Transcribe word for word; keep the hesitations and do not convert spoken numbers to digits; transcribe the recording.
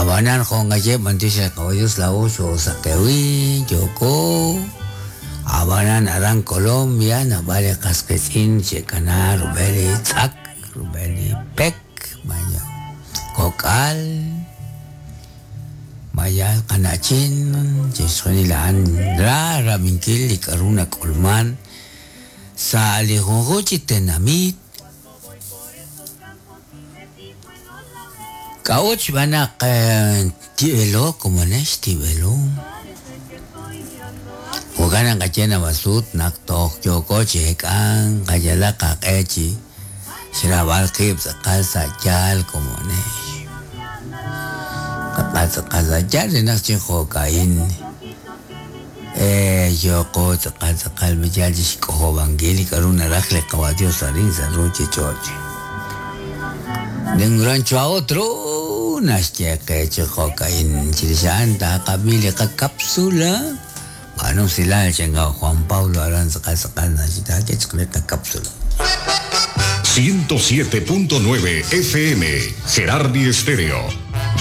Abanan jongaye mantisha caballos la ocho sakewi yoko abanan aran Colombia na vale casquetzin chekana rubeli tzak rubeli pek maya kokal maya kanachin chesonilan ra raminkil likaruna kulman sa alijonjochi tenamit Kauch banak tibelo como nesh tibelo. Huganan kachena basut nak tok yoko chekan kayala kakechi. Shirabal kip sa chal como nesh. Kapasa kasa chal nak chiho kain. Eh yoko sakal sakal mechal chikoho bangili karuna rakle kawadio sarin saruche choche. De un rancho a otro, cápsula. Bueno, si la Juan Pablo Aranza cápsula. ciento siete punto nueve F M, Gerardi Estéreo.